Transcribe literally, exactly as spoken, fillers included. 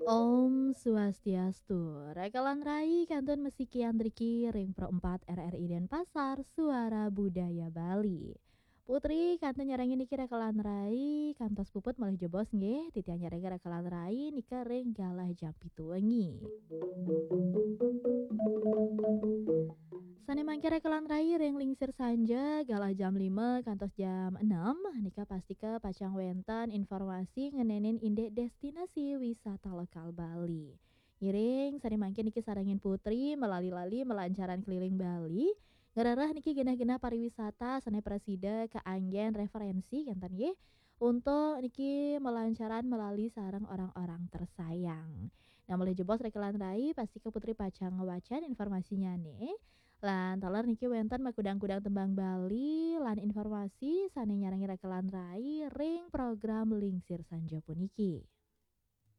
Om Swastiastu. Rekelan rai kantun masikian driki ring Pro empat R R I Denpasar, Suara Budaya Bali. Putri kantun nyarengin niki rekelan rai kantos puput malih jebos nggih, titiang nyarengin rekelan rai nika ring galah jam pitu wengi. Sane mangkin rekelan rai ring lingsir sanja galah jam lima kantos jam enam, nika pastika pacang wenten informasi ngenenin indik destinasi wisata lokal Bali. Ngiring sane mangkin niki sarengin Putri malali-lali malancaran keliling Bali, ngrereh niki genah-genah pariwisata sane prasida kaanggen referensi kenten nggih, untuk niki malancaran malali sareng orang-orang tersayang. Nah, malih jebos rekelan rai, pastika Putri pacang ngwacen informasinyane. Lan taler niki wenten makudang-kudang tembang Bali lan informasi sane nyarengin rekelan rai ring program lingsir sanja puniki.